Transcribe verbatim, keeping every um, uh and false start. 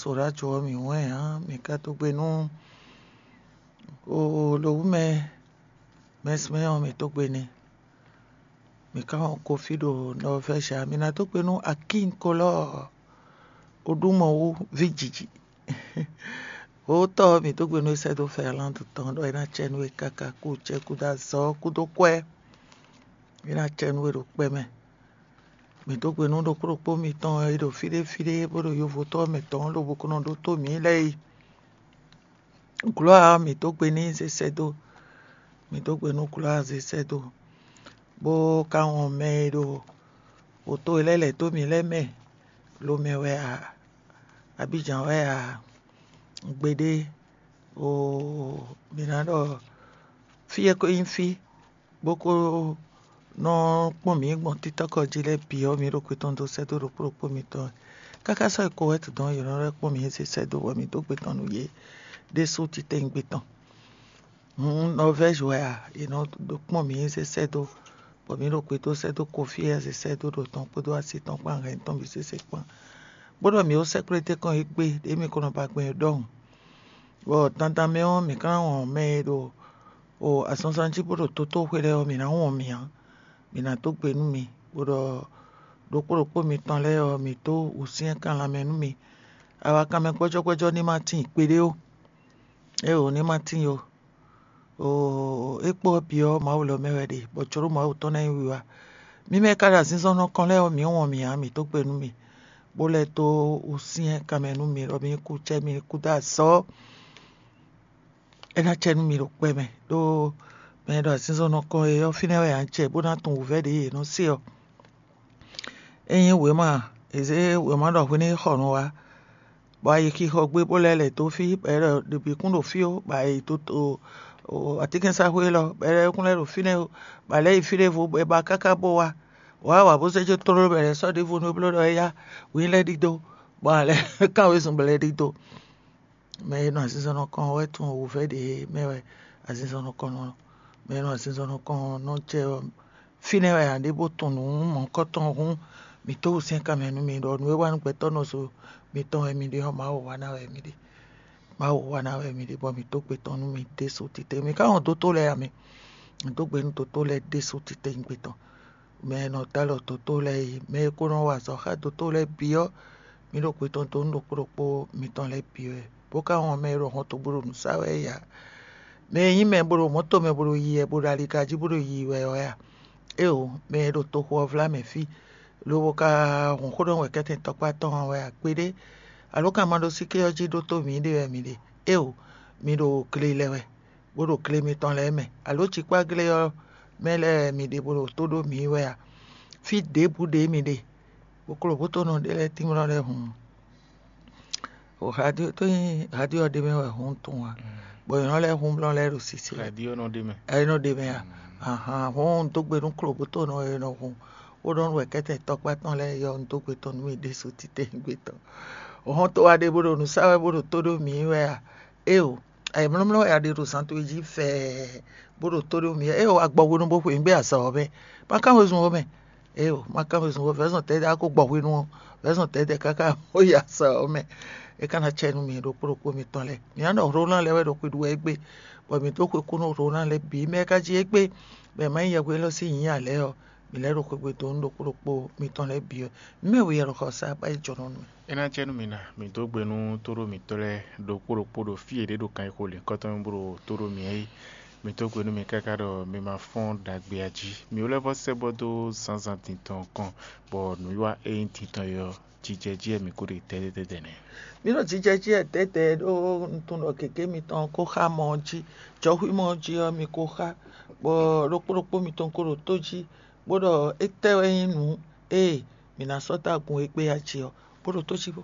Ɖo ɖó ajo ɔ́ mǐ wɛn ǎ, mǐ ka dó gbe nú oo lowǔmɛ mɛsmɛ ɔ́ mǐ dó gbe n'i. Mǐ ka wɔn kofi ɖo Nɔvɛ́zi ǎ, mǐ ná dó gbe nú Akín Kolɔ́ɔ Oɖúmɔwú ví jiji. Wǒtɔ́ ɔ́ mǐ dó gbe nú é sɛ́ dó Fɛrlándu tɔn ɖɔ é ná cɛ nú we káká kú cɛ́ kú dó azɔ̌ kú dó kwɛ́. É ná cɛ nú we ɖo kpɛ́ mɛ. Mǐ dó gbe nú ɖokpó ɖokpó mitɔn e ɖo fí ɖé fí ɖé bó ɖo yovotɔ́ mɛtɔn lobɔ ko nɔ ɖótó mǐ lɛ́ɛ é. Glɔ̌a ɔ́, mǐ dó gbe n'i zé sɛ́ dó. Mǐ dó gbe nú glɔ̌a zé sɛ́ dó, bó ka wɔn mɛ e ɖo wǒto e lɛ́ lɛ̌ dó mǐ lɛ́ɛ mɛ, Lomɛ wɛ a, Abíjan wɛ a, gbeɖé, oo, mǐ ná ɖɔ fí e ko nyí fí bó ko nɔ kpɔ́n mǐ gbɔn títɔ́kɔ jí lɛ́ɛ bǐ ɔ́, mǐ ɖo kwe tɔn dó sɛ́ dó ɖokpó ɖokpó mitɔn wɛ. Káká sɔ́ e ko wɛ tɔn yě nɔ lɛ́ kpɔ́n mǐ zé sɛ́ dó bɔ mǐ dó gbe tɔn nú yě ɖésú titewungbe tɔn. Hǔn Nɔvɛ́zi wɛ a? Yě nɔ ɖo kpɔ́n mǐ zé sɛ́ dó, bɔ mǐ ɖo kwe dó sɛ́ dó Kofí e zé sɛ́ dó ɖo tɔn kpódó asi tɔn kpán hɛn tɔn bǐ sésé kpán. Bó ɖɔ mǐ ó sɛkplé tɛ́nkɔ́n égbé ɖě mǐ ko nɔ ba gbɛn ɔ́ ɖɔhun. Bɔ dandan mɛ ɔ́, mǐ ka ná wɔn mɛ e ɖo o azɔnzan jí bó ɖo tótóxwe lɛ́ɛ ɔ́, mǐ ná wɔn mǐ ǎ. Mǐ ná dó gbe nú mi, bó ɖɔ ɖokpó ɖokpó mitɔn lɛ́ɛ ɔ́, mǐ dó wǔsyɛ́n kan lanmɛ nú mi. Awakanmɛ gbɔ́jɔ́gbɔ́jɔ́ ní ma tíin kpeɖé ó. Éeǒ, ní ma tíin ó. Oo, é kpó ɔ́ bǐ ɔ́, Mawu lɔ mɛ wɛ ɖe, bɔ jlǒ Mawu tɔn ná nyí wiwa. Mǐ mɛ e ka ɖo azinzɔnnɔ kɔn lɛ́ɛ ɔ́, mǐ wɔn mǐ ǎ, mǐ dó gbe nú mi, bó lɛ́ dó wǔsyɛ́n kanmɛ nú mi, ɖɔ mi ní kú cɛ́, mi ní kú dó azɔ̌. É ná cɛ nú mi ɖo kpɛ́ mɛ, ɖó mɛ e ɖo azinzɔnnɔ kɔn e ɔ́, fínɛ́ wɛ ǎ jɛ bó ná tunwun wǔvɛ́ ɖě e è nɔ se ɔ́. Ényí wěma è zě wěma ɖɔ hwenu e xɔ nǔ wá, bɔ ayixixɔ gbé bó lɛ́ lɛ̌ dó fí, bɔ è ɖɔ ɖě bǐ kún ɖo fí ó, bɔ è yi atínkɛnsaxwé élɔ́, bɔ è lɛ́ kún lɛ́ ɖo fínɛ́ ó, bɔ è lɛ́ yi fí ɖěvo bɔ è ba káká bó wá. Wǎ wa bó zé jó tlóló bɔ è lɛ́ sɔ́ ɖěvo nú é bló ɖɔ é yá, wǐ lɛ́ ɖidó, bɔ a lɛ́ kán wezun bɔ è lɛ́ ɖidó. Mɛ e nɔ azinzɔnnɔ kɔn wɛ tunwun wǔvɛ́ ɖě mɛ wɛ azinzɔnnɔ kɔn nɔ. Mɛ e nɔ azinzɔnnɔ kɔn nɔ jɛ fínɛ́ wɛ ǎ ɖé bó tunwun nǔ mɔ̌hunkɔtɔn hǔn, mǐ tó wǔsyɛ́n kanmɛ nú mi ɖɔ nǔ e wa nú gbɛtɔ́ nɔ zo mitɔn wɛ mi ɖe ɔ́, Mawu wa ná wɛ mi ɖe. Mawu wa ná wɛ mi ɖe, bɔ mǐ tó gbe tɔn nú mi ɖésú titewungbe. Mi ka wɔn dótó lɛ́ɛ ǎ mi. Mǐ dó gbe nú dótó lɛ́ɛ ɖésú titewungbe tɔn. Mɛ e nɔ dó alɔ dótó lɛ́ɛ é, mɛ e ko nɔ wa azɔ̌ xá dótó lɛ́ɛ bǐ ɔ́, mǐ ɖo kwe tɔn dó nú ɖokpó ɖokpó mitɔn lɛ́ɛ bǐ wɛ, bó ka wɔn mɛ e ɖo hɔnto bó ɖo nǔ sa wɛ é ǎ. Mɛ e nyí mɛ bó ɖo mɔ̌to mɛ bó ɖo yi wɛ, bó ɖo aliga jí bó ɖo yi wɛ ɔ́ a? Éeǒ, mɛ e ɖo toxo ɔ́ vlá mɛ fí, lobo ka hun xó ɖɔ wɛ̌kɛ́tɛn tɔkpá tɔn ɔ́ wɛ a? Kpeɖé, alǒ kan ma ɖó síké ɔ́ jí ɖótó mǐɖée wɛ mi ɖe? Éeǒ, mi ɖo gle lɛ wɛ, bó ɖo gle mitɔn lɛ́ɛ mɛ, alǒ cikpáglé ɔ́ mɛ lɛ́ɛ wɛ mi ɖe bó ɖo tó ɖó mǐ wɛ a? Fí ɖěbǔ ɖě mi ɖe, bó kló bó tó nɔ ɖé lɛ́ɛ tínmlɔ́ lɛ́ɛ hǔn. O radio tó nyí radio ɔ́ ɖé mɛ wɛ hǔn tunwun a? Bɔ nyɔ̌ lɛ́ɛ hǔn blɔ́ lɛ́ɛ ɖo sisi wɛ. Radio nɔ ɖe mɛ. Ɛyɛ nɔ ɖe mɛ a? Ahan, hɔn un dó gbe nú klobútɔ́ nɔ e nɔ hun bó nɔ nú wɛ̌kɛ́tɛn tɔkpá tɔn lɛ́ɛ yɔ un dó gbe tɔn nú mì ɖésú titewungbe tɔn. Hɔn tó wá ɖe bó ɖo nǔ sa wɛ bó ɖo tó ɖó mǐ wɛ a? Éeǒ, ayǐmlɔ́mlɔ́ wɛ a ɖe ɖo zan towe jí fɛɛ bó ɖo tó ɖó mǐ wɛ. Éeǒ, agbɔhwenu bó xwe nǔ gbé azɔ̌ ɔ́ mɛ. Ma kán wezun ó mɛ. Éeǒ, ma kán wezun ó, vɛ̌zɔn tɛ́ a ko gbɔhwenu ɔ́, vɛ̌zɔn tɛ́ káká bó yi azɔ̌ ɔ́ mɛ. É ka ná cɛ nú mi ɖokpó ɖokpó mitɔn lɛ́ɛ. Mǐ ná ɖɔ Hlolán lɛ́ɛ wɛ ɖo xwe ɖu wɛ égbé, bɔ mǐ dó xwe kú nú Hlolán lɛ́ɛ bǐ mɛ e ka jí égbé, bɔ è ma nyí yɛhwesin élɔ́ sín nyǐ ǎ lɛ́ɛ ɔ́, mǐ lɛ́ ɖo xwegbe dó nú ɖokpó ɖokpó mitɔn lɛ́ɛ bǐ wɛ. Mǐ mɛ we yɛ ɖo xɔ sá bá yi jɔnɔ nú mì. É ná cɛ nú mi ná, mǐ dó gbe nú tóɖó mǐtɔn lɛ́ɛ ɖokpó ɖokpó ɖo fí e yě ɖe ɖo kan e xo lǐnkɔ́tɔn mɛ bó ɖo tó ɖó mǐ é. Mǐ dó gbe nú mi káká ɖɔ mi ma fɔ́n ɖagbe ǎ jí. Mǐ wlɛ́ vɔ́ sɛ́ bɔ dó zǎnzǎn din tɔn kɔn, bɔ nǔwiwa e nyí din tɔn é ɔ́, jijɛ jí wɛ mǐ ko ɖe tɛ́tɛ́tɛ́ nɛ́. Mǐ ɖo jijɛ jí wɛ dɛ̌dɛ̌ ɖó un tunwun ɖɔ gěgé mitɔn ko xá mɔ ɔ́ jí, jɔhwímɔ ɔ́ jí ɔ́, mi ko xá, bɔ ɖokpó ɖokpó mitɔn ko ɖo tó jí, bó ɖɔ étɛ́ wɛ nyí nǔ e mǐ ná sɔ́ dó agun e gbé ɔ́ jí ɔ́, bó ɖo tó jí bó.